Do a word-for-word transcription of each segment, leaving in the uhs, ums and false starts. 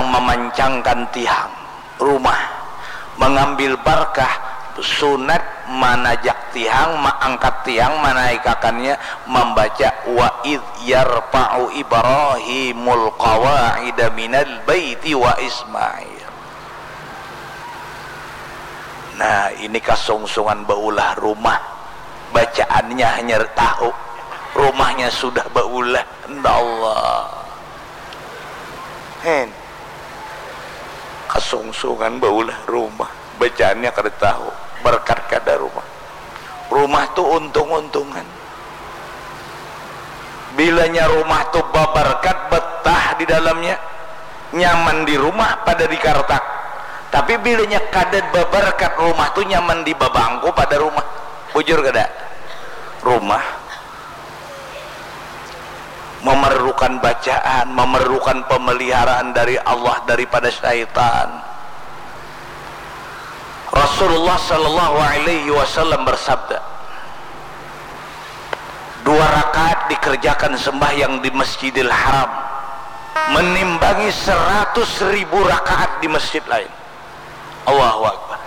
Mamancangkan tihang rumah, mangambil barkah, sunat manajak tihang, maangkat tihang, manaikakannya, mambaca wa idh yarfa'u Ibrahimul qawa'ida minal baiti wa Ismail. Nah, ini kasungsungan baulah rumah, bacaannya hanya tahu, rumahnya sudah baulah. Insyaallah. Hen. Kasungsungan baulah rumah. Bacaannya kada tahu. Berkat kada rumah. Rumah tu untung-untungan. Bilanya rumah tu babarkat, betah di dalamnya, nyaman di rumah pada di kartak. Tapi bilanya kada babarkat, rumah tu nyaman di babangku pada rumah. Bujur kada? Rumah memerlukan bacaan, memerlukan pemeliharaan dari Allah daripada syaitan. Rasulullah sallallahu alaihi wasallam bersabda, dua rakaat dikerjakan sembahyang di Masjidil Haram menimbangi seratus ribu rakaat di masjid lain. Allahu Akbar.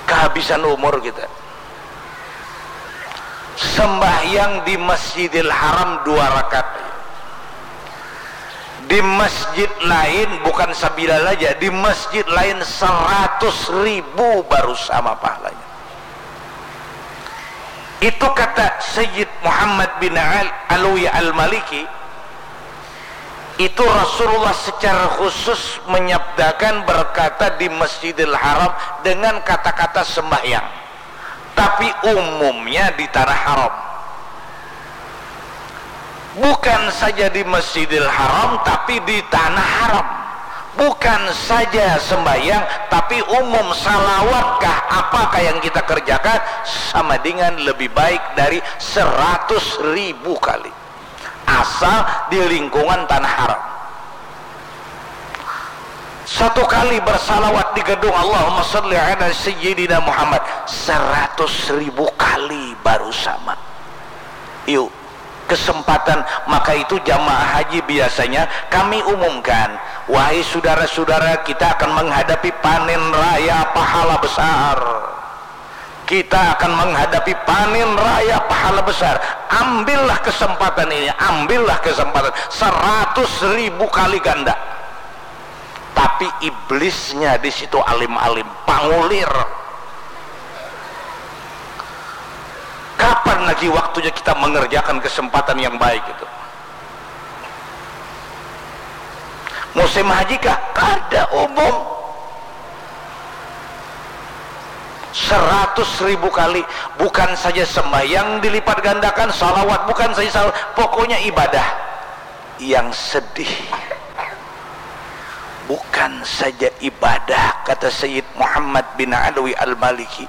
Kehabisan umur kita. Sembahyang di Masjidil Haram dua rakaat. Di masjid lain bukan sabilal aja, di masjid lain seratus ribu baru sama pahalanya. Itu kata Sayyid Muhammad bin Al-, Alwi Al-Maliki, itu Rasulullah secara khusus menyabdakan, berkata di Masjidil Haram dengan kata-kata sembahyang. Tapi umumnya di tanah haram. Bukan saja di Masjidil Haram, tapi di tanah haram. Bukan saja sembahyang, tapi umum salawatkah, apakah yang kita kerjakan sama dengan lebih baik dari seratus ribu kali. Asal di lingkungan tanah haram. Satu kali bersalawat di gedung Allahumma salli ala Sayyidina Muhammad, seratus ribu kali baru sama. Yuk, kesempatan, maka itu jamaah haji biasanya kami umumkan, wahai saudara-saudara, kita akan menghadapi panen raya pahala besar. Kita akan menghadapi panen raya pahala besar. Ambillah kesempatan ini, ambillah kesempatan. Seratus ribu kali ganda. Tapi iblisnya di situ alim-alim, pangulir. Kapan lagi waktunya kita mengerjakan kesempatan yang baik itu? Musim haji kah? Kada umum. Seratus ribu kali, bukan saja sembahyang dilipat gandakan, salawat, bukan saja salawat, pokoknya ibadah. Yang sedih, bukan saja ibadah, kata Sayyid Muhammad bin Alwi Al-Maliki,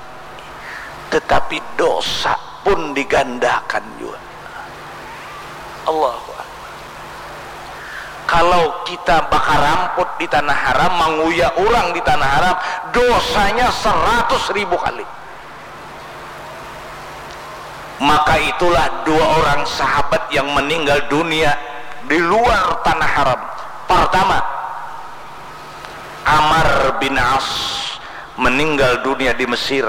tetapi dosa pun digandakan jua. Allahu Akbar. Kalau kita bakaramput di tanah haram, manguya urang di tanah haram, dosanya seratus ribu kali. Maka itulah dua orang sahabat yang meninggal dunia di luar tanah haram. Pertama, Amar bin As meninggal dunia di Mesir,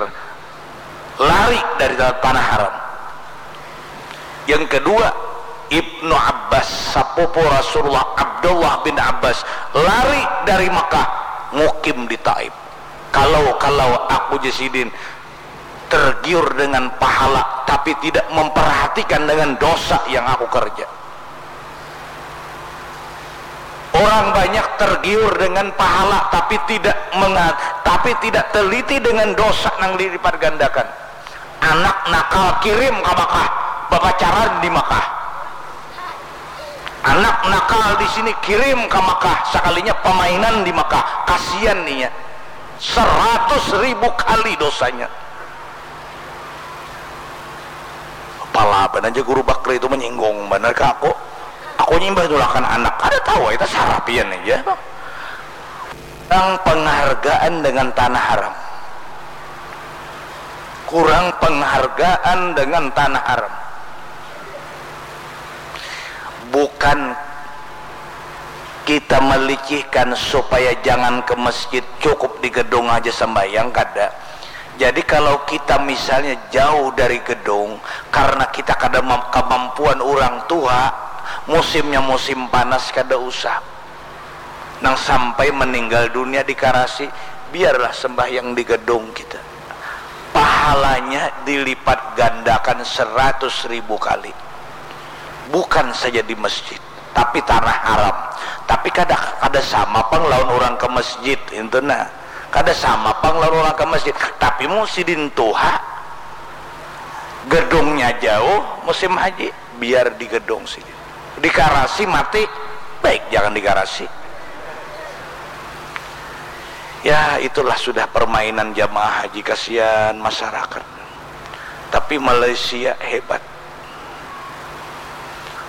lari dari tanah haram. Yang kedua, Ibnu Abbas, sapupu Rasulullah Abdullah bin Abbas, lari dari Mekah, mukim di Taif. Kalau-kalau aku, jar sidin, tergiur dengan pahala tapi tidak memperhatikan dengan dosa yang aku kerja. Orang banyak tergiur dengan pahala tapi tidak menga-, tapi tidak teliti dengan dosa nang dilipat gandakan. Anak nakal kirim ka Makkah, bapacaran di Makkah. Anak nakal di sini kirim ka Makkah, sakalinya pamainan di Makkah, kasian inya. Seratus ribu kali dosanya. Palaban aja Guru Bakri itu menyinggung banar ka aku. Aku nyimbah tulakan anak, kada tahu, kita sarapian aja. Kurang penghargaan dengan tanah haram. Kurang penghargaan dengan tanah haram. Bukan Kita melicihkan supaya jangan ke masjid, cukup di gedung aja sembahyang, kada. Jadi kalau kita misalnya jauh dari gedung karena kita kada mem- kemampuan orang tua, musimnya musim panas, kada usah. Nang sampai meninggal dunia di karasi, biarlah sembahyang di gedung kita. Pahalanya dilipat gandakan seratus ribu kali. Bukan saja di masjid, tapi tanah haram. Tapi kada, kada sama pang lawan orang ke masjid, itu nah. Kada sama pang lawan orang ke masjid. Tapi mun sidin tuha, gedungnya jauh, musim haji, biar di gedung sidin. Di karasi mati, baik jangan di karasi. Ya, itulah sudah permainan jamaah haji, kasihan masyarakat. Tapi Malaysia hebat.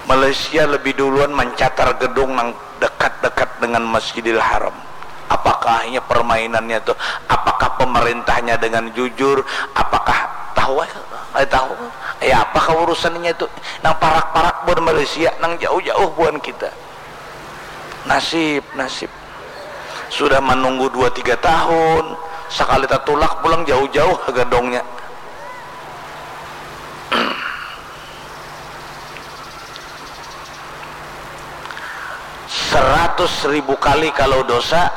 Malaysia lebih duluan mencatar gedung nang dekat-dekat dengan Masjidil Haram. Apakah hanya permainannya tuh? Apakah pemerintahnya dengan jujur? Apakah tahu? Eh, tahu? Ya, apakah urusannya itu? Nang parak-parak buat Malaysia, nang jauh-jauh buat kita. Nasib, nasib. Sudah menunggu dua tiga tahun, sekali tatulak pulang jauh-jauh gedongnya. Seratus ribu kali kalau dosa,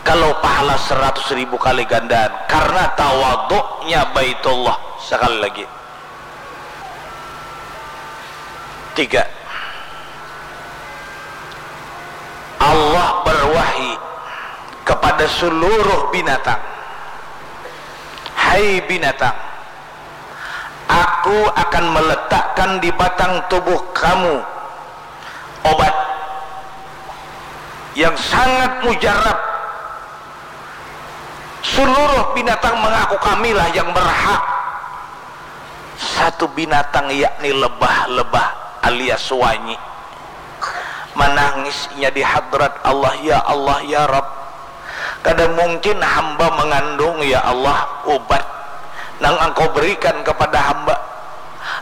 kalau pahala seratus ribu kali gandaan, karena tawaduknya Baitullah. Sekali lagi, tiga, Allah berwahyu kepada seluruh binatang, "Hai binatang, Aku akan meletakkan di batang tubuh kamu obat yang sangat mujarab. Seluruh binatang mengaku kamilah yang berhak." Satu binatang, yakni lebah-lebah alias wanyi. Manangis inya di hadrat Allah, "Ya Allah, ya Rabb, kada mungkin hamba mengandung, ya Allah, ubat nang Engkau berikan kepada hamba.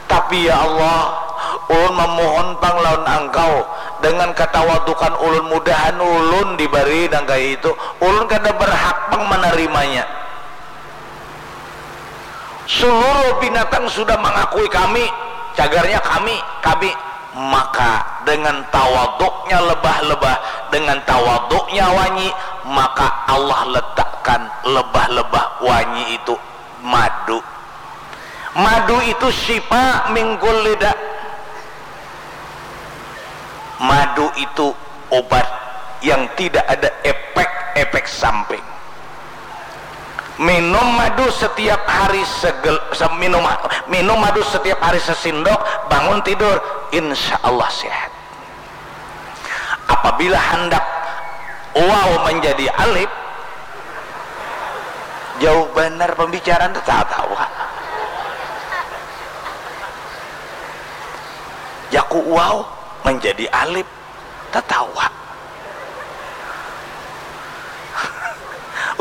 Tapi, ya Allah, ulun memohon pang lawan Engkau, dengan katawadukan ulun, mudahan ulun dibari nang kaya itu. Ulun kada berhak pang menerimanya." Seluruh binatang sudah mengakui kami, cagarnya kami, kami. Maka dengan tawaduknya lebah-lebah, dengan tawaduknya wanyi, maka Allah letakkan lebah-lebah wanyi itu madu. Madu itu syifa min kulli da. Madu itu obat yang tidak ada efek-efek samping. Minum madu setiap hari segel, se- minum minum madu setiap hari sesindok, bangun tidur, insya Allah sehat. Apabila hendak waw menjadi alif, jauh benar pembicaraan, tatawa. Jaku waw menjadi alif, tatawa.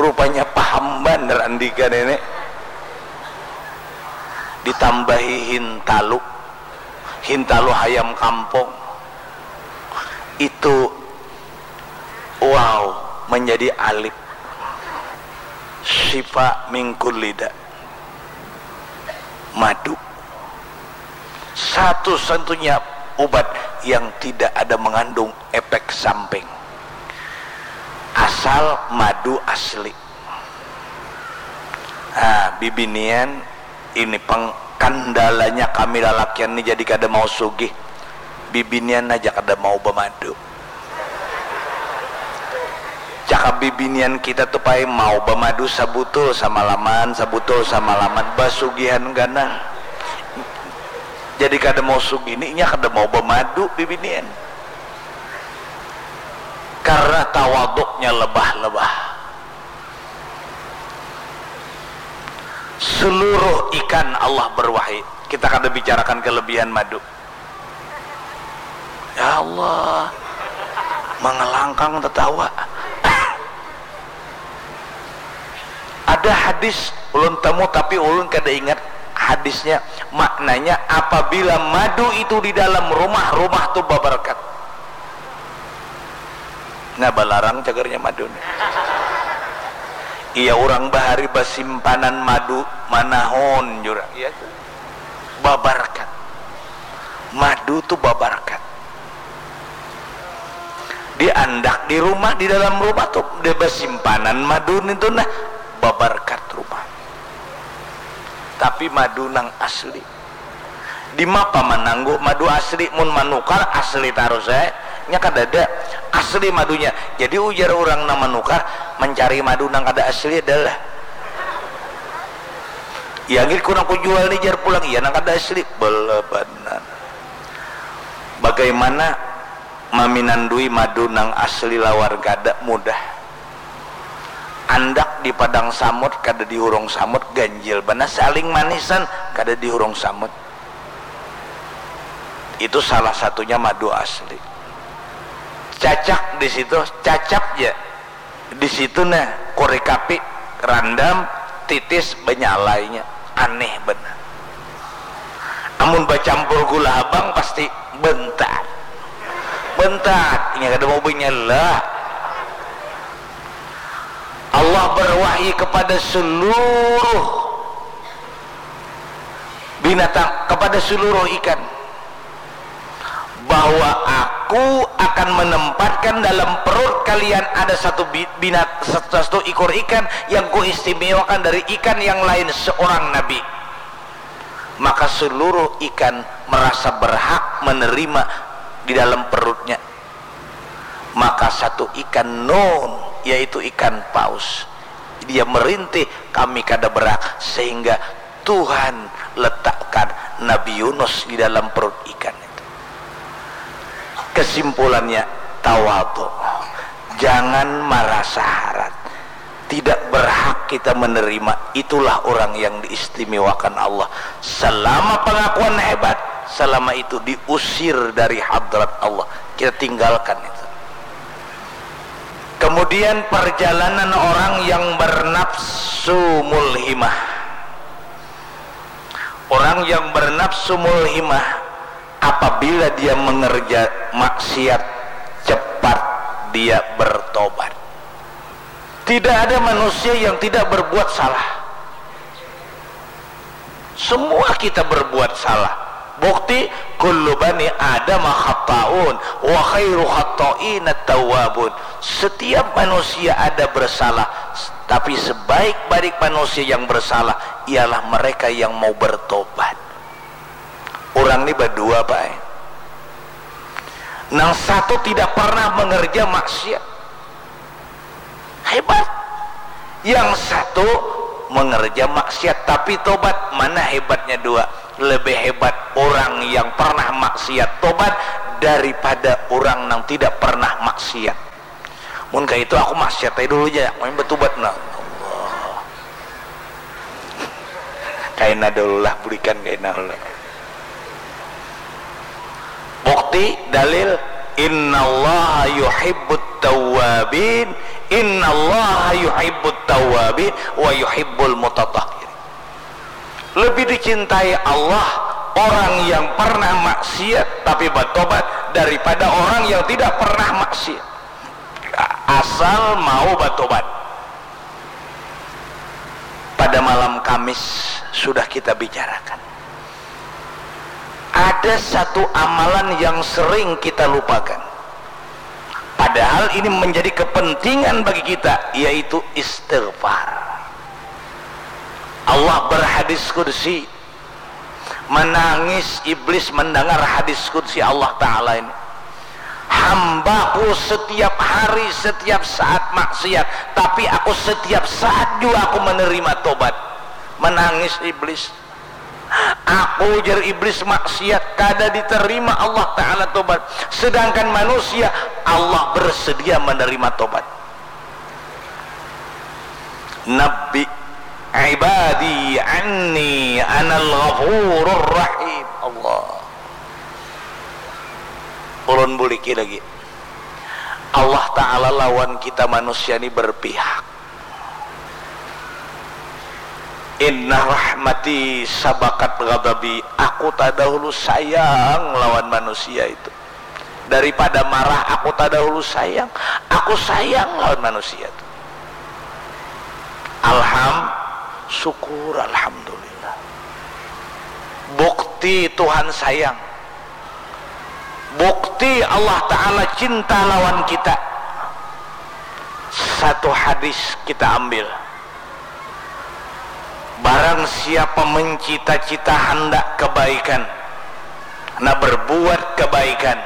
Rupanya paham banar andika nenek. Ditambahi hintalu, hintalu hayam kampung. Itu waw menjadi alif. Syifa min kulli da. Madu. Satu-satunya ubat yang tidak ada mengandung efek samping. Asal madu asli. Ah, bibinian, ini pang kendalanya kami lalakian ni jadi kada mau sugih. Bibinian aja kada mau bamadu. Cakap bibinian kita tu pai mau bamadu sabutul samalaman, sabutul samalaman, basugihan ganal. Jadi kada mau sugih ni, inya kada mau bamadu bibinian. Karena tawaduknya lebah-lebah. Seluruh ikan Allah berwahi. Kita kada bicarakan kelebihan madu. Ya Allah, mangalangkang tatawa. Ada hadis ulun temu, tapi ulun kada ingat hadisnya. Maknanya, apabila madu itu di dalam rumah, rumah tu babarkat. Nah, balarang cagarnya madu nih. Iya, urang bahari basimpanan madu manahun jurang. Iya tuh. Babarkat. Madu tuh babarkat. Diandak di rumah, di dalam rumah tuh dia basimpanan madu nih tuh nah, babarkat rumah. Tapi madu nang asli. Dimapa mananggu madu asli, mun manukar asli tarus eh. Nya kadada asli madunya. Jadi ujar urang nang manukar, mancari madu nang kada asli adalah. Ya git ku nang kujual ni jar pulang, iya nang kada asli. Bela banar. Bagaimana maminandui madu nang asli lawan kada? Mudah. Andak di padang samut kada di hurung samut, ganjil banar, saling manisan kada di hurung samut. Itu salah satunya madu asli. Cacak di situ, cacak ja. Di situ nah, korek api, randam, titis, banyalainya. Aneh banar. Amun bacampur gula habang pasti bentat. Bentat, inya kada mau banyala. Allah berwahyu kepada seluruh binatang, kepada seluruh ikan, bahwa Aku akan menempatkan dalam perut kalian ada satu bi-, binat-, satu ikor ikan yang Kuistimewakan dari ikan yang lain, seorang nabi. Maka seluruh ikan merasa berhak menerima di dalam perutnya. Maka satu ikan nun, yaitu ikan paus, dia merintih, kami kada berhak, sehingga Tuhan letakkan Nabi Yunus di dalam perut ikan itu. Kesimpulannya, tawadhu. Jangan marasa harat. Tidak berhak kita menerima. Itulah orang yang diistimewakan Allah. Selama pengakuan hebat, selama itu diusir dari hadrat Allah. Kita tinggalkan itu. Kemudian perjalanan orang yang bernafsu mulhimah. Orang yang bernafsu mulhimah, apabila dia mengerja maksiat, cepat dia bertobat. Tidak ada manusia yang tidak berbuat salah. Semua kita berbuat salah. Bukti, kullu bani Adam khatta'un, wa khairu khatta'ina tawwabun. Setiap manusia ada bersalah, tapi sebaik-baik manusia yang bersalah ialah mereka yang mau bertobat. Orang ni badua, Pak, eh. Nang satu tidak pernah mengerja maksiat. Hebat. Yang satu mengerja maksiat tapi tobat. Mana hebatnya dua? Lebih hebat orang yang pernah maksiat tobat daripada orang yang tidak pernah maksiat. Mun kayak itu aku maksiat aja dulu aja, aku yang bertobat nah. Allah. Kaina dulu lah, bulikan kaina dulu. Bukti, dalil, innallaha yuhibbut tawwabin, innallaha yuhibbut tawwabin wa yuhibbul mutatahhirin. Lebih dicintai Allah orang yang pernah maksiat tapi bertobat daripada orang yang tidak pernah maksiat. Asal mau bertobat. Pada malam Kamis sudah kita bicarakan. Ada satu amalan yang sering kita lupakan. Padahal ini menjadi kepentingan bagi kita, yaitu istighfar. Allah berhadis qudsi, menangis iblis mendengar hadis qudsi Allah Ta'ala ini. Hambaku setiap hari, setiap saat maksiat, tapi aku setiap saat juga aku menerima tobat. Menangis iblis. Aku, jar iblis, maksiat, kada diterima Allah Ta'ala tobat. Sedangkan manusia, Allah bersedia menerima tobat. Nabbi ibadi anni anal ghafurur rahim. Allah. Ulun buliki lagi. Allah Ta'ala lawan kita manusia ni berpihak. Inna rahmati sabakat ghadabi. Aku tadahulu sayang lawan manusia itu. Daripada marah, aku tadahulu sayang. Aku sayang lawan manusia tu. Alham, syukur, alhamdulillah. Bukti Tuhan sayang. Bukti Allah Ta'ala cinta lawan kita. Satu hadis kita ambil. Barang siapa mencita-cita handak kebaikan, handak berbuat kebaikan,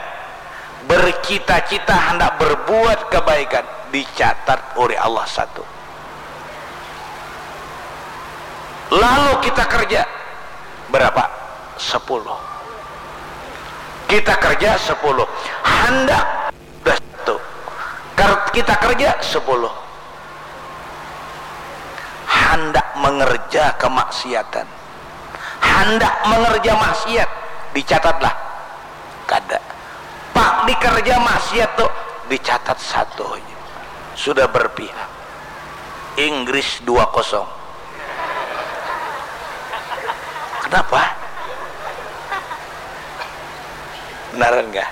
bercita-cita handak berbuat kebaikan, dicatat oleh Allah satu. Lalu kita kerja berapa? Sepuluh. Kita kerja sepuluh. Handak sudah satu. Ker-, kita kerja sepuluh. Handak mengerja kemaksiatan. Handak mengerja maksiat. Dicatatlah. Kada. Pak dikerja maksiat tu. Dicatat satu aja. Sudah berpihak. Inggris dua kosong. Kenapa? Benaran kah?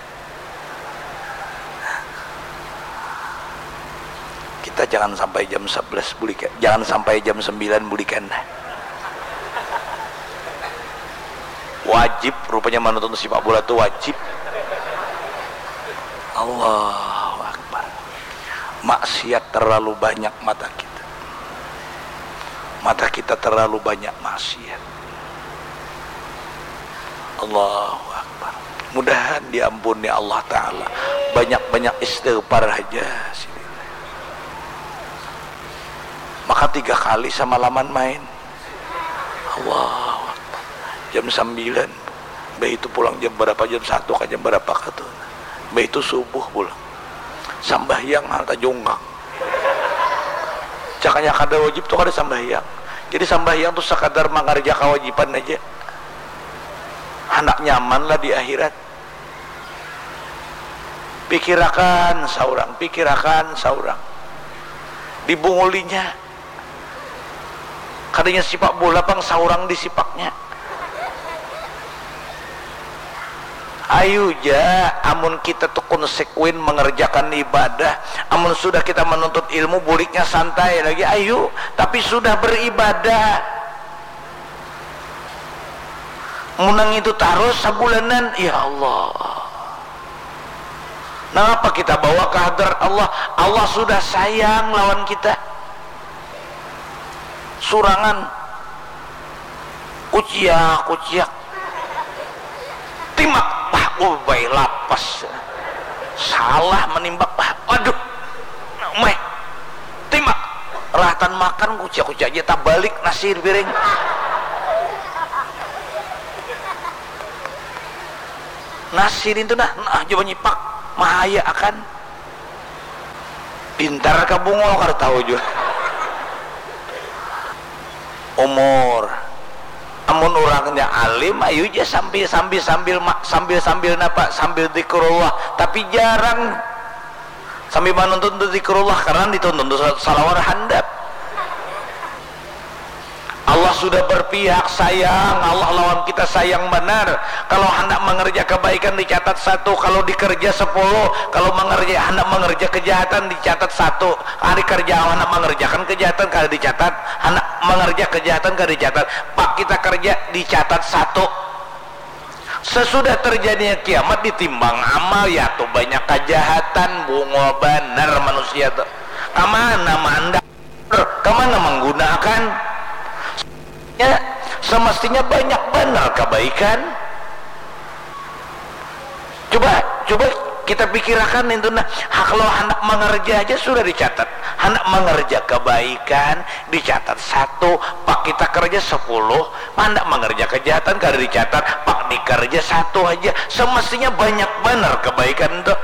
Kita jangan sampai jam sebelas bulikan, jangan sampai jam sembilan bulikan. Wajib rupanya menonton sepak bola tu wajib. Allahu Akbar. Maksiat terlalu banyak mata kita. Mata kita terlalu banyak maksiat. Allahu Akbar. Mudahan diampuni Allah Ta'ala. Banyak-banyak istighfar aja sini. Maka tiga kali semalaman main. Allahu Akbar. Jam sembilan. Bah itu pulang jam berapa? Jam satu kah, jam berapa kah tu? Bah itu subuh pulang. Sambahyang hal tajungkang. Cakanya kada wajib tu kada sambahyang. Jadi sambahyang tu sekadar mengerja kewajiban aja. Handak nyaman lah di akhirat. Pikirakan saurang, pikirakan saurang. Dibungulinya. Kadanya sipak bola pang saurang disipaknya. Ayu ja, amun kita tu konsekuen mengerjakan ibadah, amun sudah kita menuntut ilmu, buliknya santai lagi, ayu, tapi sudah beribadah. Munang itu tarus sabulanan, ya Allah. Nangapa kita bawa ke hadrat Allah? Allah sudah sayang lawan kita. Surangan. Kuciak, kuciak. Timak, bah, ubai lapas. Salah menimbak, bah, aduh. Meh. Timak. Rahatan makan, kuciak-kuciak aja tabalik nasi di piring. Nasi nintu nah, nah, coba nyipak. Mahaya akan. Pintar ka bungul, kada tahu jua. Umur. Amun urangnya alim, ayu ja sambil, sambil, sambil ma-, sambil, sambil napa? Sambil zikrullah. Tapi jarang sambil manuntun tu zikrullah, karena dituntun tu sa-, salawar handap. Allah sudah berpihak sayang, Allah lawan kita sayang banar. Kalau handak mengerja kebaikan dicatat satu, kalau dikerja sepuluh, kalau mengerja, handak mengerja kejahatan dicatat satu. Ari kerja handak mengerjakan kejahatan kada dicatat, handak mengerja kejahatan kada dicatat. Pak kita kerja dicatat satu. Sesudah terjadinya kiamat ditimbang amal, ya tu banyak kejahatan, bungul banar manusia tu. Kamana mandak? Kamana menggunakan? Ya, semestinya banyak banar kebaikan. Coba, coba kita pikirakan itu nah, kalau hendak mengerja aja sudah dicatat, hendak mengerja kebaikan dicatat satu, pak kita kerja sepuluh, hendak mengerja kejahatan kada dicatat, pak dikerja satu aja, semestinya banyak banar kebaikan tu.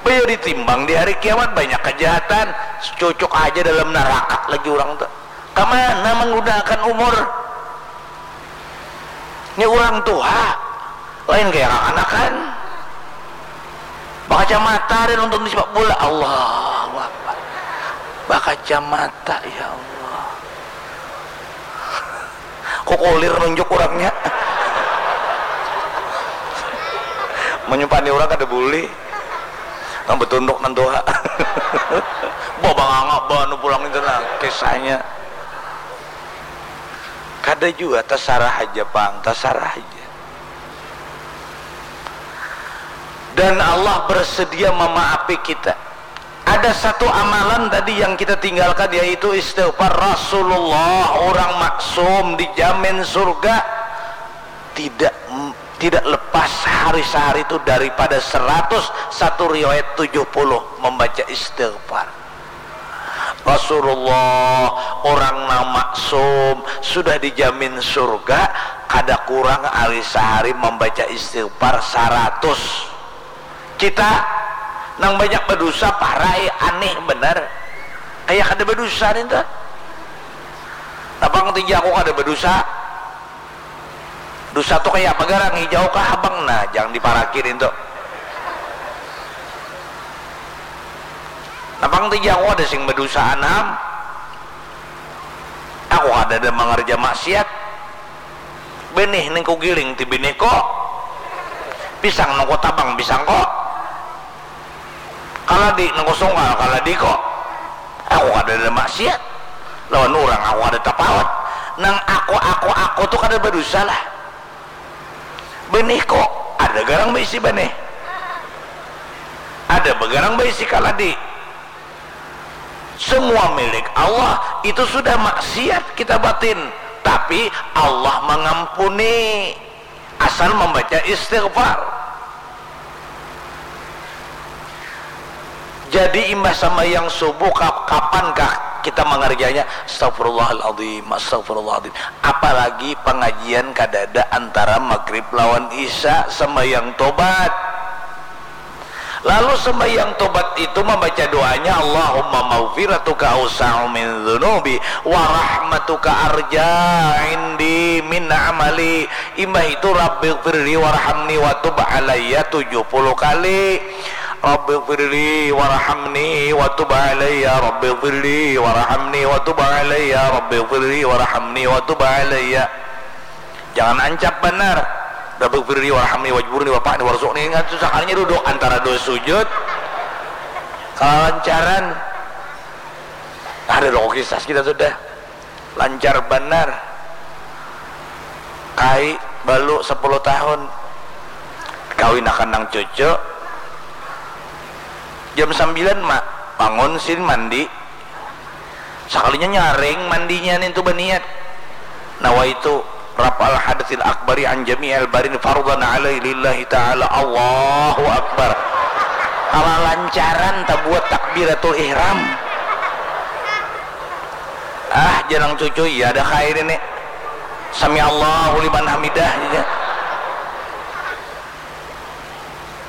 Baya ditimbang di hari kiamat, banyak kejahatan, cucuk aja dalam neraka lagi urang tu. Kamana menggunakan umur? Ini urang tuha, lain kaya kakanakan. Bakacamata ada nonton di sepak bola, Allahu Akbar. Bakacamata, ya Allah. Kukulir nunjuk urangnya. Menyumpani urang kada boleh. Nang betunduk nang tuha. Babanganga banu pulang itu nah kisahnya. Kada jua, tasarah haja pang, tasarah haja. Dan Allah bersedia memaapi kita. Ada satu amalan tadi yang kita tinggalkan, yaitu istighfar. Rasulullah, orang maksum, dijamin surga, tidak tidak lepas hari sehari itu daripada seratus, satu riwayat tujuh puluh membaca istighfar. Rasulullah, orang nang maksum, sudah dijamin surga, kada kurang ari sahari membaca istighfar saratus. Kita nang banyak badusa, parai, aneh banar. Kaya kada badusa nintu. Napang tija aku kada badusa. Dusa tu kaya apa garang, hijau kah habang? Nah, jangan diparaki nintu. Napang tija aku kada sing badusa anam. Aku kadada mangarja maksiat. Benih ning kugiling ti benih ko. Pisang nang kutabang pisang ko. Kaladi nang kusungkal kaladi ko. Aku kadada maksiat lawan urang, aku kada tapawat. Nang aku, aku, aku tu kada badusa lah. Benih ko ada garang baisi benih. Ada bagarang baisi kaladi. Semua milik Allah, itu sudah maksiat kita batin, tapi Allah mengampuni asal membaca istighfar. Jadi imbah sambahyang subuh, kapankah kita mengerjanya? Astagfirullahaladzim, astagfirullahaladzim. Apalagi pengajian kadada antara maghrib lawan isya, sambahyang tobat. Lalu sembahyang tobat itu membaca doanya, Allahumma maghfiratuka awsa'u min dzunubi wa rahmatuka arja indi min amali. Imbah itu Rabbighfirli warhamni wa tub alayya tujuh puluh kali. Rabbighfirli warhamni wa tub alayya, Rabbighfirli warhamni wa tub alayya, Rabbighfirli warhamni wa tub alayya. Jangan ancap banar. Rabbighfirli warhamni wajburni warfa'ni warzuqni. Ingat tu sakalinya duduk antara dua sujud. Kalancaran. Ada lo kisah kita sudah. Lancar banar. Kai balu sepuluh tahun. Kawinakan nang cucu. Jam sambilan, Mak. Bangun sin mandi. Sakalinya nyaring mandinya nintu baniat, nawaitu raf'al hadatsil akbari an jami'il barin fardhan alai lillahi ta'ala. Allahu Akbar. Kalancaran tabuat takbiratul ihram. Ah, janang cucu, iya ada khair ini. Sami Allahu liman hamidah aja.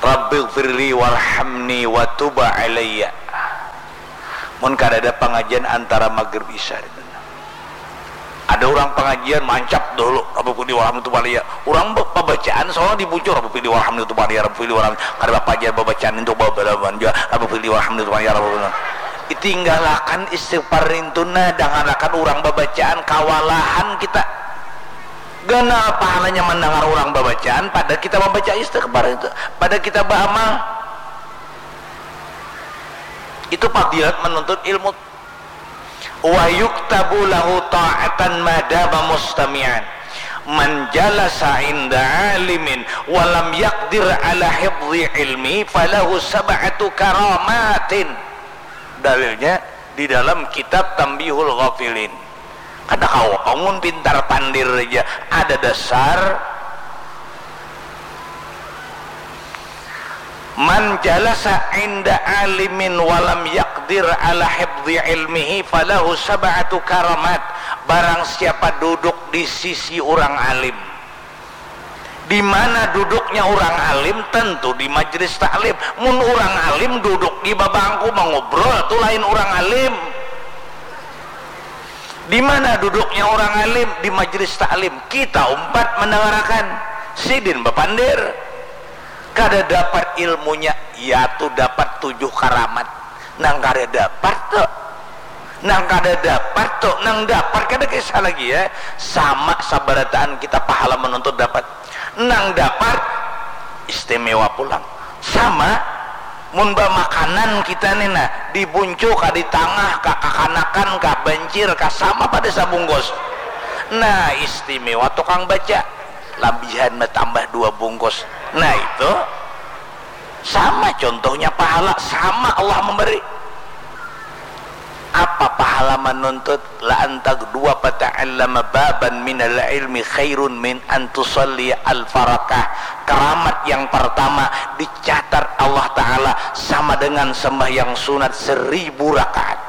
Rabbighfirli warhamni wa tub alayya. Mun kadada pangajian antara maghrib isya, ada urang pangajian mancap dahulu Rabbi firli warhamni tub alayya, urang pabacaan soalnya di bucu Rabbi firli warhamni tub alayya, Rabbi firli warhamni, kada bapa ja babacaan itu babalaban jua Rabbi firli warhamni tub alayya, Rabbi firli. Itinggalakan istighfar nintu nah, dangarakan urang babacaan, kawalahan kita. Ganal pahalanya mandangar urang babacaan pada kita mambaca istighfar itu, pada kita baamal. Itu fadilat manuntut ilmu. Wa yuktabu lahu ta'atan ma dama mustami'an. Man jalasa inda alimin wa lam yaqdir ala hifdhi ilmi falahu sab'atu karamatin. Dalilnya di dalam kitab Tambihul Ghafilin. Kada kawa pang mun pintar pandir aja ada dasar. Man jalasa inda alimin walam yakdir ala hifdhi ilmihi falahu sab'atu karamat. Barang siapa duduk di sisi urang alim, di mana duduknya urang alim, tentu di majlis taklim. Mun urang alim duduk di babangku mangubrol tu lain urang alim. Di mana duduknya urang alim? Di majlis taklim. Kita umpat mandangarakan. Sidin bapandir. Kada dapat ilmunya, yatu dapat tujuh karamat. Nang kada dapat tu, nang kada dapat tu, nang dapat kada kisah lagi ya. Sama sabarataan kita pahala manuntut dapat. Nang dapat istimewa pulang. Sama Mun bamakanan kita ni nah, di buncu kah, di tangah kah, kakanakan kah, bancir kah, sama pada sabungkus. Nah, istimewa tukang baca, labihan batambah dua bungkus. Nah, itu sama contohnya pahala, sama Allah memberi. Apa pahala manuntut? La antag dua pata'allama baban minal ilmi khairun min antusalli alfarakah. Keramat yang pertama dicatat Allah Ta'ala sama dengan sembahyang sunat seribu rakaat.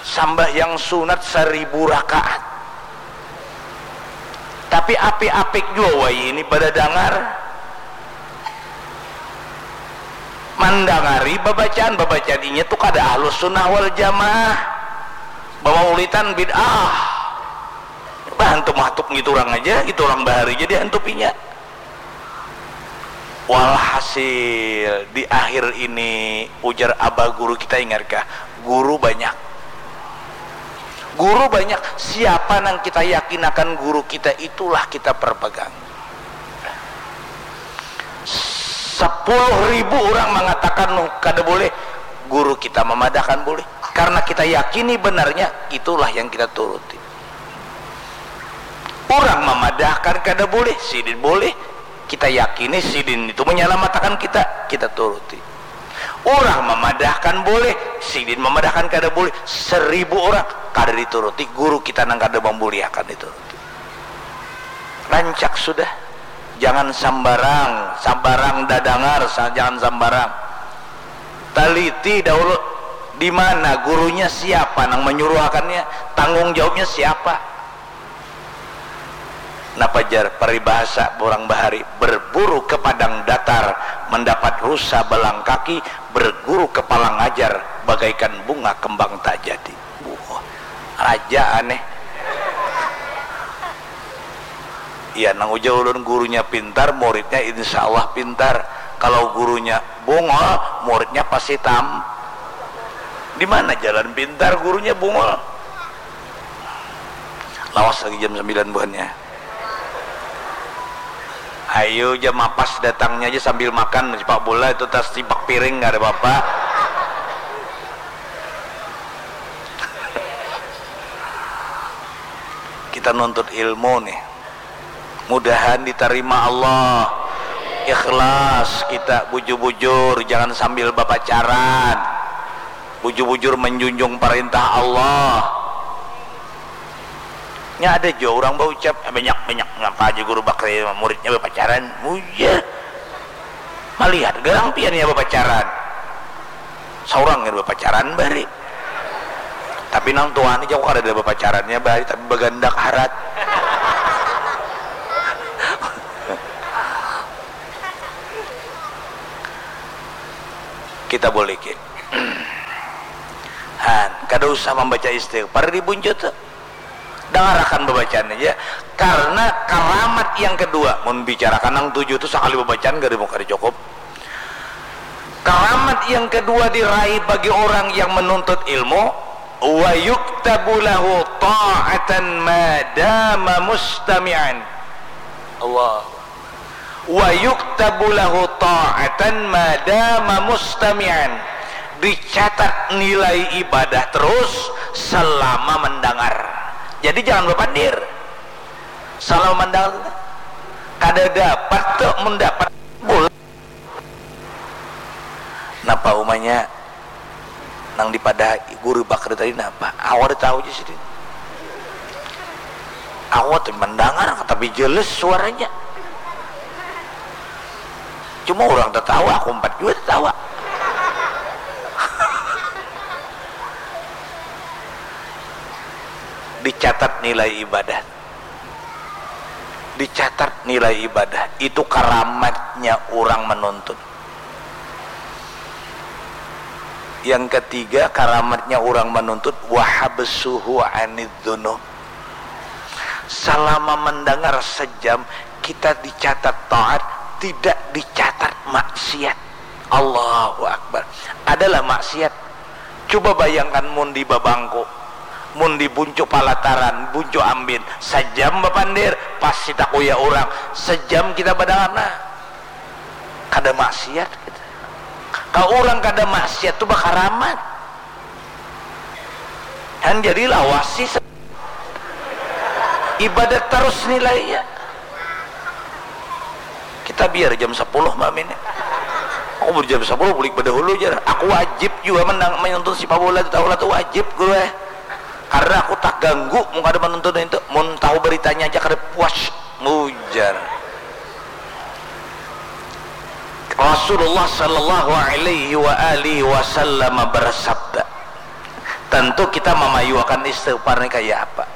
Sembahyang sunat seribu rakaat. Tapi apik-apik jua wai ini pada dangar. Mandangari babacaan, babacaan inya tu kada ahlus sunnah wal jamaah. Bamaulitan bid'ah. Bahantup-hantup ngitu urang aja, itu urang bahari ja dihantupinya. Walhasil, di akhir ini, ujar abah guru kita, ingatkah? Guru banyak. Guru banyak, siapa nang kita yakinakan guru kita, itulah kita perpegang. Sepuluh ribu urang mangatakan kada boleh, guru kita mamadahkan boleh. Karena kita yakini benarnya, itulah yang kita turuti. Urang mamadahkan kada boleh, sidin boleh. Kita yakini sidin itu manyalamatakan kita, kita turuti. Urang mamadahkan boleh, sidin mamadahkan kada boleh. Seribu urang kada dituruti, guru kita nang kada mambuliakan dituruti. Rancak sudah. Jangan sambarang, sambarang dadangar, sa-, jangan sambarang. Taliti dahulu, di mana gurunya, siapa nang manyuruhakannya, tanggung jawabnya siapa. Napa jar paribahasa urang bahari, berburu ke padang datar, mendapat rusa balang kaki, berguru ke palang ajar, bagaikan bunga kembang tak jadi. Buh, raja aneh. Iya, nang ujar ulun, gurunya pintar, muridnya insya Allah pintar. Kalau gurunya bungul, muridnya pasti tam. Di mana jalan pintar, gurunya bungul? Lawas lagi jam sembilan buhannya. Ayo, jam mapas datangnya aja sambil makan, sepak bola itu tas tipak piring, nggak ada apa-apa. Kita nuntut ilmu nih. Mudahan ditarima Allah. Ikhlas kita, bujur-bujur, jangan sambil bapacaran. Bujur-bujur menjunjung perintah Allah. Nya ada jua urang baucap, "Eh, banyak, banyak, ngapa aja guru bakri muridnya bapacaran?" Muja. Malihat garang pian ya bapacaran. Saurang ya bapacaran bari. Tapi nang tuan ni jauh kada ada bapacarannya bari, tapi bagandak harat. Kita boleh ki. Han, kada usah membaca istighfar di buncut tu. Dangarakan babacaan aja. Karena karamat yang kedua, mun bicarakan nang tujuh tu sakali babacaan kada mau kada cukup. Karamat yang kedua diraih bagi orang yang menuntut ilmu, wa yuktabu lahu ta'atan madama mustami'an. Allah. Wa yuktabu lahu ta'atan madama mustami'an. Dicatat nilai ibadah terus selama mendengar. Jadi jangan bapandir. Selama mendengar kada dapat tu mendapat bola. Napa umanya nang dipada guru bakri tadi napa? Awak tahu aja sih. Awak tuh mendengar tapi jelas suaranya. Cuma orang tertawa, aku empat juga tertawa. Dicatat nilai ibadah. Dicatat nilai ibadah. Itu karamatnya orang menuntut. Yang ketiga, karamatnya orang menuntut, wahabsuhu anid dzunub. Selama mendengar sejam, kita dicatat taat, tidak dicatat maksiat. Allahu Akbar. Adalah maksiat. Coba bayangkan mun di babangku, mun di buncu palataran, buncu ambin, sejam bapandir, pasti takuya orang. Sejam kita badangar, nah. Kada maksiat kita. Ka urang kada maksiat tu bakaramat. Han jadi lawasi se-, ibadat tarus nilainya. Kita biar jam sapuluh malam ini. Aku jam sapuluh bulik badahulu jar. Aku wajib jua menang, menonton sipak bola tu, tahulah tu wajib guru eh. Karena aku tak ganggu mun kada menonton itu. Mun tahu beritanya aja kada puas, ujar. Rasulullah sallallahu alaihi wa alihi wasallam bersabda, tentu kita mamayuakan istighfar ni kaya apa?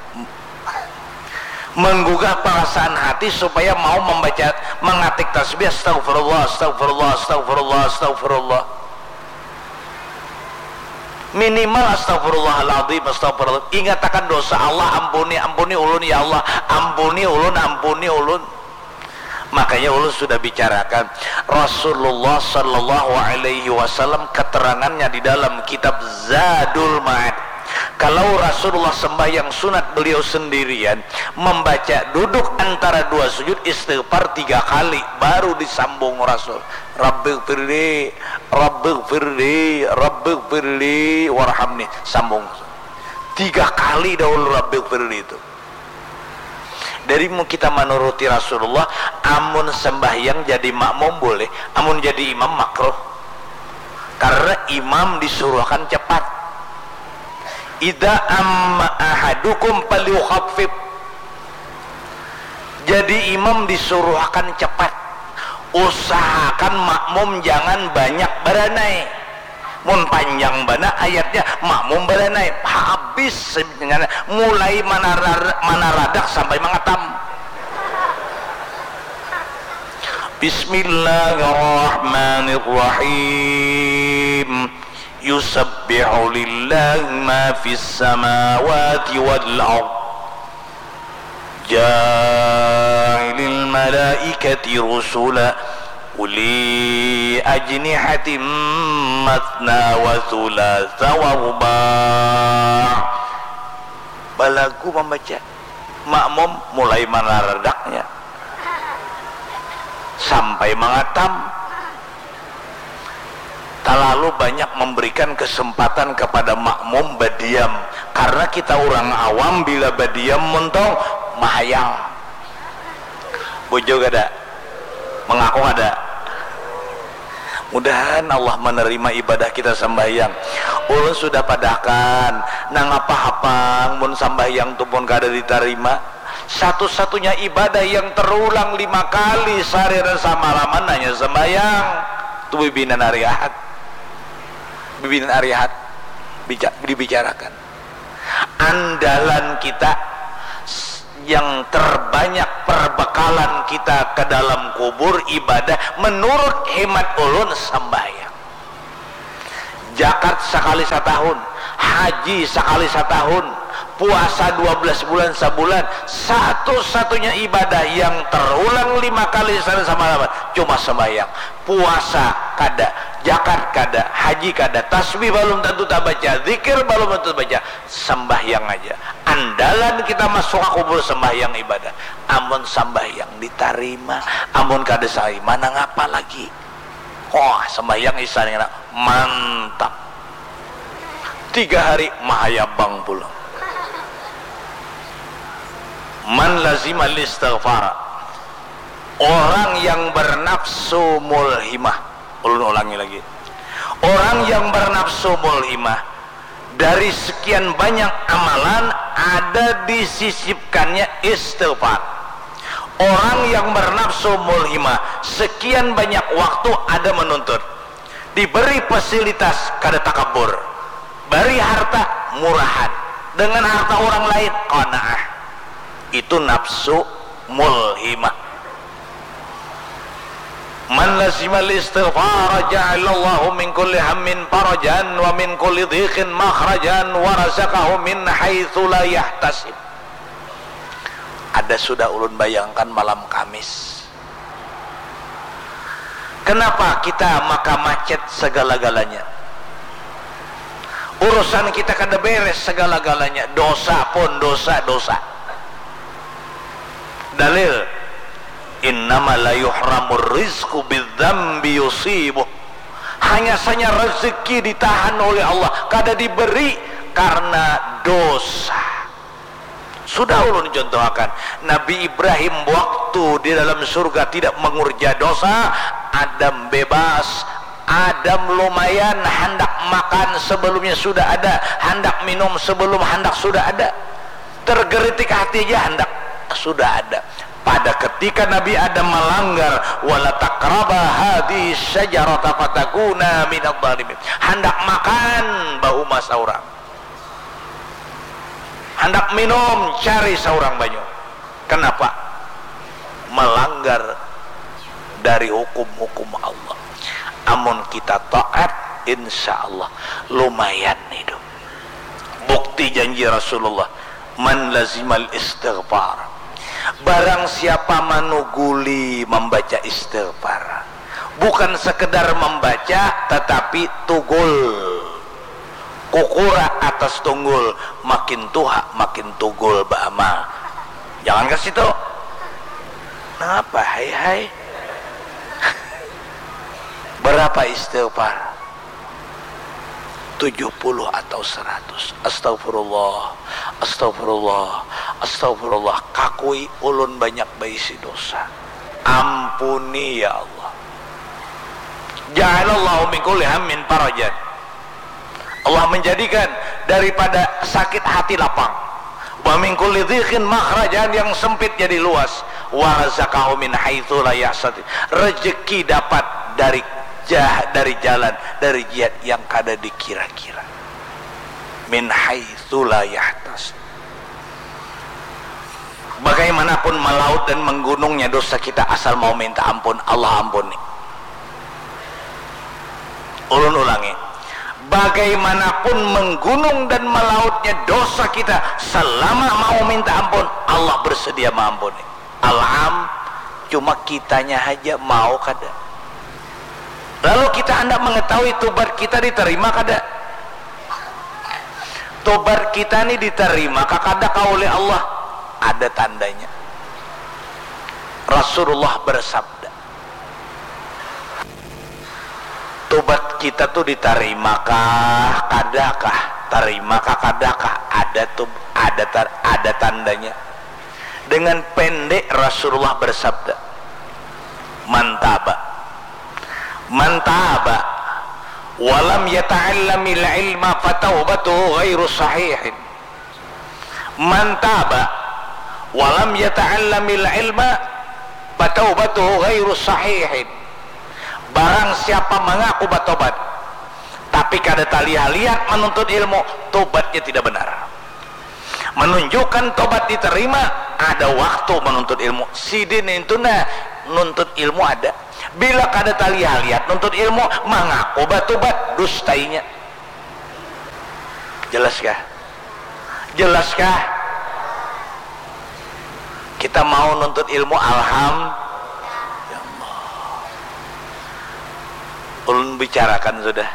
Menggugah perasaan hati supaya mau membaca, mengatik tasbih, astagfirullah, astagfirullah, astagfirullah, astagfirullah. Minimal astagfirullahaladzim, astagfirullah. Ingatakan dosa, Allah ampuni, ampuni ulun ya Allah, ampuni ulun, ampuni ulun. Makanya ulun sudah bicarakan, Rasulullah sallallahu alaihi wasallam keterangannya di dalam kitab Zadul Ma'ad. Kalau Rasulullah sembahyang sunat beliau sendirian, membaca duduk antara dua sujud istighfar tiga kali, baru disambung Rasul. Rabbighfirli, Rabbighfirli, Rabbighfirli, warhamni. Sambung. Tiga kali dahulu Rabbighfirli itu. Dari mun kita manuruti Rasulullah, amun sembahyang jadi makmum boleh, amun jadi imam makruh. Karena imam disuruhkan cepat. Idza amma ahadukum falyukhaffif. Jadi imam disuruhkan cepat. Usahakan makmum jangan banyak baranai. Mun panjang bana ayatnya, makmum baranai. Habis sebenarnya. Mulai manarar-, manaradak sampai mangatam. Bismillahirrahmanirrahim. Yusabbihu lillahi ma fis samawati wal ard. Ja'ilil malaikati rusula uli ajnihatin matsna wa thulatsa wa ruba'. Balagu membaca. Makmum mulai manaradaknya sampai mangatam. Talalu banyak memberikan kesempatan kepada makmum badiam, karena kita urang awam bila badiam muntong mahayal. Bujur kada? Mengaku kada? Mudahan Allah menerima ibadah kita sembahyang. Ulun sudah padahkan, nangapa hapang mun sambahyang tu pun kada ditarima? Satu-satunya ibadah yang terulang lima kali sehari dan semalaman hanya sembahyang. Tu bibinan hari Ahad. Bibinan hari Ahad bica-, dibicarakan. Andalan kita s-, yang terbanyak perbekalan kita ke dalam kubur ibadah menurut hemat ulun sembahyang. Jakat sakali satahun, haji sakali satahun, puasa dua belas bulan sabulan, satu-satunya ibadah yang terulang lima kali sehari semalaman cuma sembahyang. Puasa kada, jakat kada, haji kada, tasbih balum tentu tabaca, zikir balum tentu tabaca, sembahyang aja. Andalan kita masuk ka kubur sembahyang ibadah. Amun sembahyang ditarima, amun kada tarima nangapa lagi? Wah, sembahyang isya ni kena mantap. Tiga hari mahayabang pulang. Man lazimal istighfar. Orang yang bernafsu mulhimah. Ulun ulangi lagi. Orang yang bernafsu mulhimah, dari sekian banyak amalan ada disisipkannya istighfar. Orang yang bernafsu mulhimah, sekian banyak waktu ada menuntut. Diberi fasilitas kada takabur. Bari harta murahan. Dengan harta orang lain qanaah. Itu nafsu mulhimah. Man lazimal istighfar ja'alallahu min kulli hammin farajan wa min kulli dhiqin makhrajan wa razaqahu min haitsu la yahtasib. Ada sudah ulun bayangkan malam Kamis. Kenapa kita maka macet segala-galanya? Urusan kita kada beres segala-galanya, dosa pun dosa, dosa. Dalil, innama la yuhramur rizqu bidzambi yusibuh. Hanya saja rezeki ditahan oleh Allah, kada diberi karena dosa. Sudah ulun contohakan, Nabi Ibrahim waktu di dalam surga tidak mengurja dosa, Adam bebas, Adam lumayan handak makan sebelumnya sudah ada, handak minum sebelum handak sudah ada. Tergeritik hati aja handak sudah ada. Pada ketika Nabi Adam melanggar, wala taqraba hadhihi syajarata fatakuna minadh dhalimin. Handak makan, bauma saurang. Handak minum, cari saurang banyu. Kenapa? Melanggar dari hukum-hukum Allah. Amun kita taat, insya Allah lumayan hidup. Bukti janji Rasulullah, man lazimal istighfar. Barang siapa manuguli membaca istighfar, bukan sekedar membaca, tetapi tugul. Kukura atas tunggul, makin tuha makin tugul baamal. Jangan ke situ. Napa hai hai? Berapa istighfar? Tujuh puluh atau seratus. Astagfirullah, astagfirullah, astagfirullah. Kakui ulun banyak baisi dosa. Ampuni ya Allah. Ja'alallahu min kulli hammin farajan. Allah menjadikan daripada sakit hati lapang. Wa min kulli dhiqin makhrajan, yang sempit jadi luas. Wa razaqahu min haitsu la yahtasib. Rezeki dapat dari jah, dari jalan, dari jihad yang kada dikira-kira. Min haitsu la yahtasib. Bagaimanapun melaut dan menggunungnya dosa kita, asal mau minta ampun, Allah ampuni. Ulun ulangi, bagaimanapun menggunung dan melautnya dosa kita, selama mau minta ampun, Allah bersedia mengampuni. Al-am, cuma kitanya haja mau kada. Lalu kita hendak mengetahui tobat kita diterima kada? Tobat kita ni diterima kah kada kah oleh Allah? Ada tandanya. Rasulullah bersabda, tobat kita tu diterima kah kada kah? Terima kah kada kah? Ada tu, ada tar-, ada tandanya. Dengan pendek Rasulullah bersabda, man taba, man taba walam yata'allamil ilma fataubatuhu ghairu sahihin. Man taba walam yata'allamil ilma fataubatuhu ghairu sahihin. Barang siapa mengaku batobat tapi kada talihat-lihat menuntut ilmu, tobatnya tidak benar. Menunjukkan tobat diterima, ada waktu menuntut ilmu. Sidin itu nah nuntut ilmu ada. Bila kada talihat-lihat nuntut ilmu, mengaku batobat, dustainya. Jelas kah? Jelas kah? Kita mau nuntut ilmu, alham-, ya Allah. Ulun bicarakan sudah.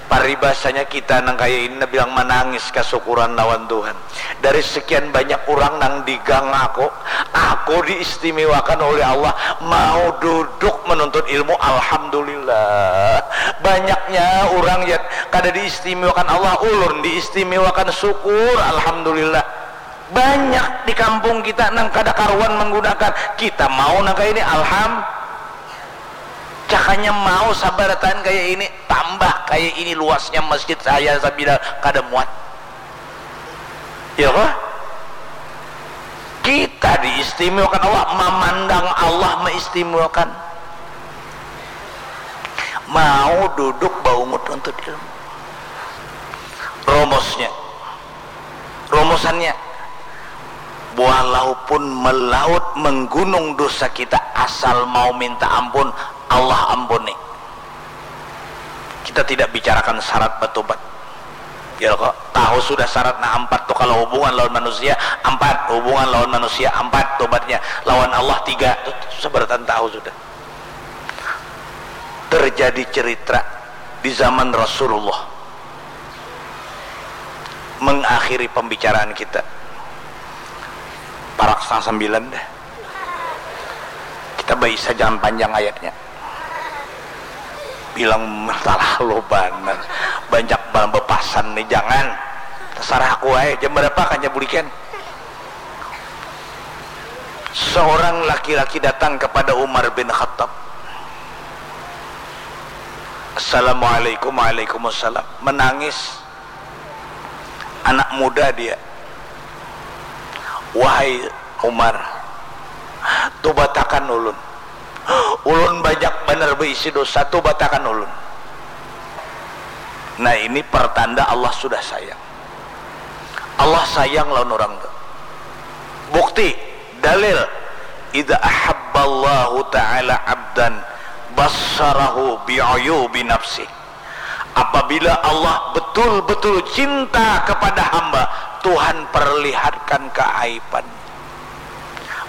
Paribasanya kita nang kaya ini, bilang manangis kasukuran lawan Tuhan. Dari sekian banyak urang nang digang aku, aku diistimewakan oleh Allah, mau duduk menuntut ilmu, alhamdulillah. Banyaknya urang ya kada diistimewakan Allah, ulun diistimewakan, syukur, alhamdulillah. Banyak di kampung kita nang kada karuan menggunakan, kita mau nang kaya ini, alham-, cakanya mau sabarataan kaya ini, tambah kaya ini luasnya masjid saya sabila kada muat. Ya kah? Kita diistimewakan Allah, mamandang Allah maistimewakan. Mau duduk baungut nuntut ilmu. Romosnya, romosannya, walaupun melaut menggunung dosa kita, asal mau minta ampun, Allah ampuni. Kita tidak bicarakan syarat bertobat. Ya kok, tahu sudah syaratnya empat tuh, kalau hubungan lawan manusia empat, hubungan lawan manusia empat, tobatnya lawan Allah tiga, tuh, tuh, seberatan tahu sudah. Terjadi cerita di zaman Rasulullah, mengakhiri pembicaraan kita, parak setengah sembilan dah. Kita baisa jangan panjang ayatnya. Bilang masalah lo banar. Banyak balang bepasan nih, jangan. Terserah aku aja, jam berapa kan bulikan. Seorang laki-laki datang kepada Umar bin Khattab. Assalamualaikum, waalaikumsalam. Menangis. Anak muda dia. Wahai Umar, tubatakan ulun. Ulun banyak banar beisi dosa, tubatakan ulun. Nah, ini pertanda Allah sudah sayang. Allah sayang lawan orang tu. Bukti, dalil, idza ahabballahu ta'ala abdan bassarahu bi'uyubi nafsih. Apabila Allah betul-betul cinta kepada hamba, Tuhan perlihatkan keaiban.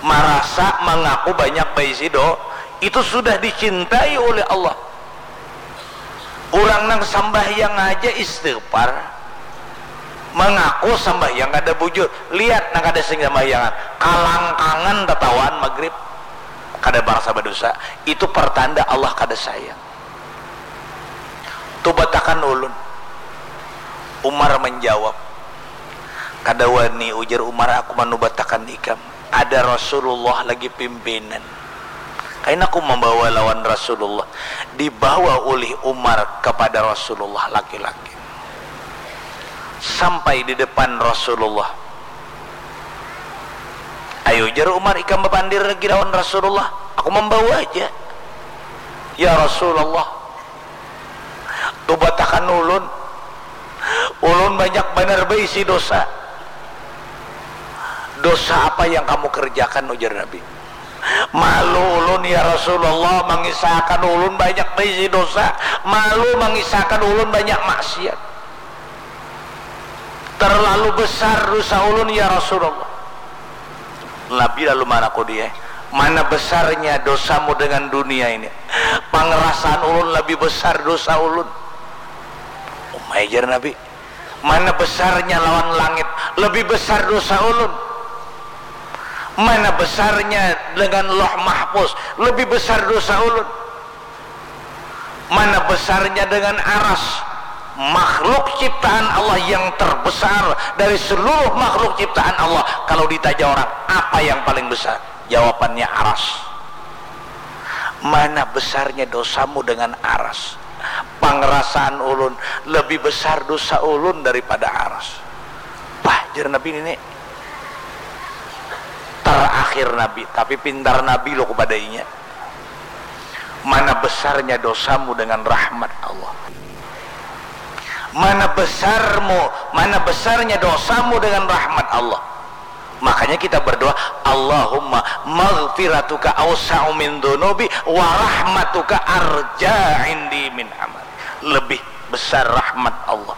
Marasa mengaku banyak baisi do, itu sudah dicintai oleh Allah. Orang nang sambahyang aja istighfar, mengaku sambahyang kada bujur. Lihat nang kada sing sambahyangan, kalangkangan tatawaan magrib, kada barasa badosa. Itu pertanda Allah kada sayang. Tubatakan ulun. Umar menjawab, kada wani, ujar Umar, aku manubatakan ikam. Ada Rasulullah lagi pimpinan. Kaina aku membawa lawan Rasulullah. Dibawa oleh Umar kepada Rasulullah laki-laki. Sampai di depan Rasulullah. Ayo, jar Umar, ikam bapandir lagi lawan Rasulullah. Aku membawa aja. Ya Rasulullah, tubatakan ulun. Ulun banyak banar baisi dosa. Dosa apa yang kamu kerjakan, ujar Nabi. Malu ulun, ya Rasulullah, mangisahakan ulun banyak baisi dosa. Malu mangisahakan ulun banyak maksiat. Terlalu besar dosa ulun, ya Rasulullah. Nabi lalu manakuni, mana besarnya dosamu dengan dunia ini? Pangerasaan ulun lebih besar dosa ulun. Umai, jar Nabi, mana besarnya lawan langit? Lebih besar dosa ulun. Mana besarnya dengan Loh Mahfuz? Lebih besar dosa ulun. Mana besarnya dengan aras? Makhluk ciptaan Allah yang terbesar dari seluruh makhluk ciptaan Allah, kalau ditanya orang, apa yang paling besar? Jawabannya aras. Mana besarnya dosamu dengan aras? Pangerasaan ulun lebih besar dosa ulun daripada aras. Bah, jar Nabi nini. Terakhir Nabi, tapi pintar Nabi lo kepada inya. Mana besarnya dosamu dengan rahmat Allah? Mana besarmu, mana besarnya dosamu dengan rahmat Allah? Makanya kita berdoa, Allahumma maghfiratuka awsa'u min dzunubi wa rahmatuka arja indi min amal. Lebih besar rahmat Allah